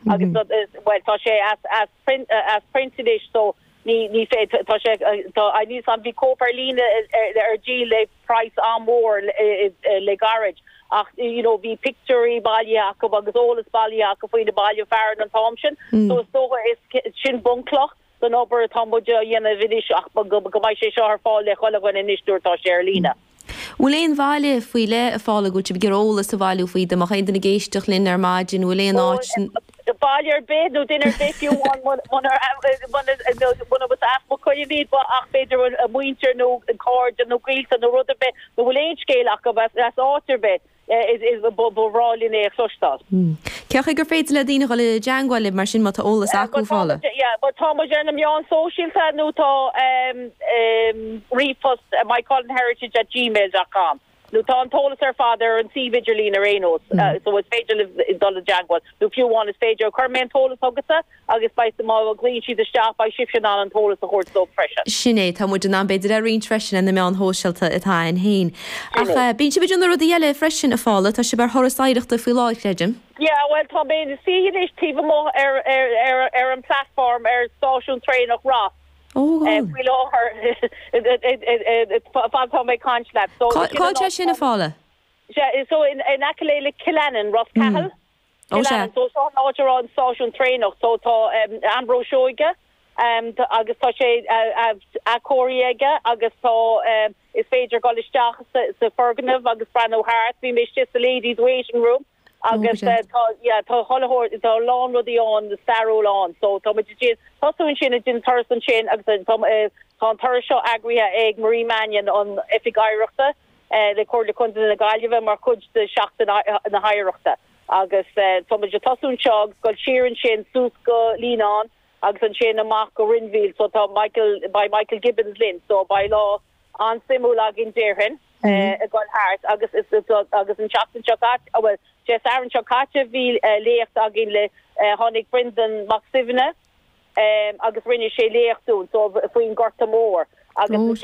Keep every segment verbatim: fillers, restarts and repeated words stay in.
Agus well tá sé as as print as print anois so ní ní fé tá sé tá níos an bhí cóip ar líne ar díol le price an-mhór le gairid ach you know bhí pictiúirí bailithe acu agus eolas bailithe acu faoi na baile fearainn an t-am sin so is dócha is sin bunchloch don obair atá muid a dhéanamh anois ach go mbeidh sé seo ar fáil le chuile dhuine anois nuair atá sé ar líne. Bhfuil aon bhaile faoi leith a Phaula go bhfuil sibh ag iarraidh eolas a bhailiú faoi dá mbeadh aon duine ag éisteacht linn ar maidin bhfuil aon áit baile ar bith nó duine ar bith fiú as Maigh Cuilinn iad ach b'fhéidir a muintir nó cairde nó gaolta nó rud ar bith nó bhfuil aon scéal acu as áit ar bith is ba bhreá linn é a chloisteáil. Cén chaoi gur féidir le daoine dul i dteagmháil libh mar sin má tá eolas acu Paula? Ba tá muid ar na meáin sóisialta nó tá ríomhphost moycullenheritage at gmail dot com. Nó tá an t-eolas ar fad ar an suíomh idirlín ar aon nós, so is féidir libh dul i dteagmháil. Nó fiú amháin is féidir, cuirfidh mé an t-eolas chugatsa agus beidh, má ghlaonn siad isteach, beidh sibhse in ann an t-eolas a thabhairt dóibh freisin. Sin é, tá muid in ann b'fhéidir a roinnt freisin ar na meáin shóisialta atá againn féin. Ach bíonn sibh ag déanamh rudaí eile freisin, a Phaula, tá sibh ar thuras oidhreachta faoi láthair, creidim. Yeah, bhuel tá mé ina suí anois taobh amuigh ar, ar, ar, ar an platform ar stáisiún traenach Ros. Faoi láthair fad tá mé ag caint leat. Cá bhfuil sé sin a Phaula? So in aice le Killannin, Ros Cathail. Killannin. So seo an áit a raibh an stáisiún traenach. So tá Ambrose Seoige agus tá sé athchóirithe aige agus tá is féidir dul isteach sa foirgneamh agus breathnú thart. Bhí mé istigh sa ladies waiting room. Agus tá, yeah, tá chuile shórt, tá a lán rudaí ann, stairiúil ann. So tá muid ag déanamh, tosú ansin ag déanamh turas ansin agus tá, tá an turas seo eagraithe ag Marie Mannion, an Oifig Oidhreachta le Comhairle Contae na Gaillimhe mar chuid de Sheachtain na hOidhreachta. Agus tá muid ag tosú anseo agus dul siar ansin suas go Líonán agus ansin amach go Rinn Mhíl. So tá Michael, beidh Michael Gibbons linn so beidh lá an-suimiúil againn déarfainn ag dul thart agus agus an tseachtain seo caite, bhuel, Dé Sathairn seo caite bhí léacht againn le, tháinig Brendan Mac Suibhne agus rinne sé léacht dúinn so faoin Gorta Mór agus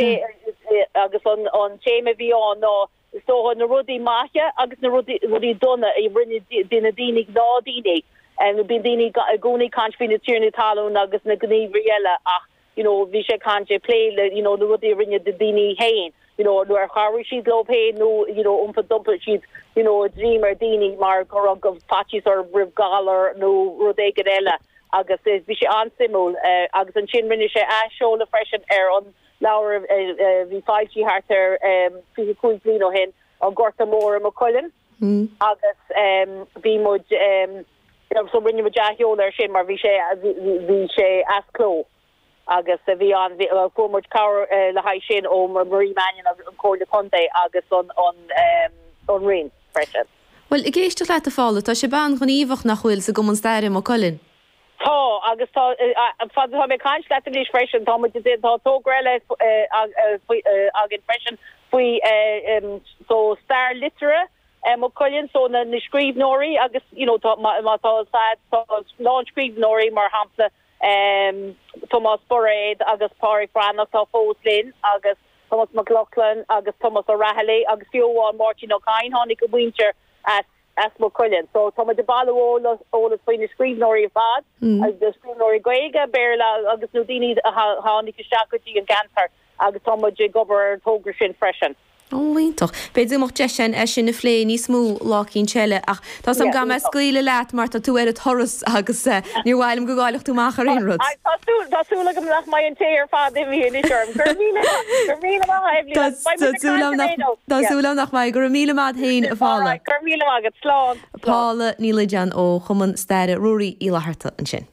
agus an an téama a bhí ann ná is dócha na rudaí maithe agus na rudaí rudaí dona a rinne na daoine gnáthdaoine. Bíonn daoine i gcónaí ag caint faoi na tiarnaí talún agus na gníomhairí eile ach you know bhí sé ag caint ag plé le you know na rudaí a rinne na daoine féin you know nó ar chabhraigh siad leo féin nó you know iompar d'iompaigh siad you know a droim ar daoine mar go raibh faitíos orthu roimh galar nó rud éigin eile agus bhí sé an-suimiúil agus ansin rinne sé athsheoladh freisin ar an leabhar a bhí foilsithe thart ar fiche cúig bliain ó shin An Gorta Mór i Maigh Cuilinn agus bhí muid so rinne muid athsheoladh air sin mar bhí sé bhí sé as cló. Agus bhí an, fuair muid cabhair le haghaidh sin ó Marie Mannion agus an Comhairle Contae agus an an Roinn freisin. Bhuel, ag éisteacht leat a Phaula, tá sibh an-ghníomhach nach bhfuil sa gCumann Staire i Maigh Cuilinn? Tá, agus tá, fad atá mé ag caint leat anois freisin, tá muid, tá togra eile againn freisin faoi so stair liteartha Maigh Cuilinn, so na scríbhneoirí agus you know tá, má tá, tá a lán scríbhneoirí mar shampla Tomás Bairéad agus Pádraic Breathnach atá fós linn agus Tomás Mac Lochlainn agus Tomás Ó Raghallaigh agus fiú amháin Máirtín Ó Cadhain, tháinig a mhuintir as as Maigh Cuilinn. So tá muid ag bailiú eolas faoi na scríbhneoirí ar fad, na scríbhneoirí Gaeilge, Béarla agus na daoine a tháinig isteach go dtí an gceantar agus tá muid ag obair ar an togra sin freisin. Ó, iontach. B'fhéidir go mbeadh deis againn é sin a phlé níos mó lá eicínt eile ach tá 's agam go mbeidh mé ag scaoileadh leat mar tá tú ar an turas agus níor mhaith liom go gcaillfeadh tú amach ar aon rud. Tá súil, tá súil agam nach mbeidh an tae ar fad imithe anois orm. Go raibh míle, go raibh míle maith agat, Eibhlín, agus beidh muid ag caint ar aon nós. Tá súil agam nach mbeidh. Go raibh míle maith agat féin, a Phaula. Alright, go raibh míle maith agat. Slán. Slán. Paula Ní Loideáin ó Chumann Staire Ruairí Uí Fhlatharta ansin.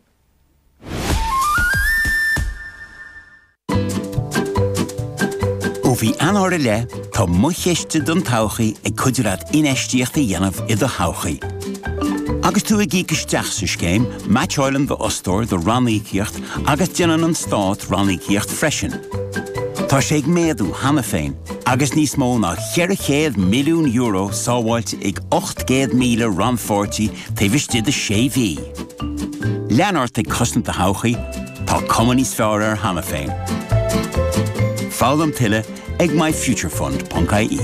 Ó mhí Eanáir i leith, tá Mo Chiste don Todhchaí ag cuidiú leat infheistíocht a dhéanamh i do thodhchaí. Agus tú ag íoc isteach sa scéim, meaitseáileann d'fhostóir do ranníocaíocht agus déanann an Stát ranníocaíocht freisin. Tá sé ag méadú cheana féin agus níos mó ná ceithre chéad milliún euro sábháilte ag ocht gcéad míle rannpháirtí taobh istigh de sé mhí. Lean ort ag cosaint do thodhchaí, tá cuma níos fearr air cheana féin. Foghlaim tuilleadh ag myfuturefund ponc ie.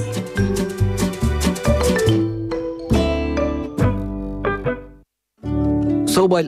Sábháil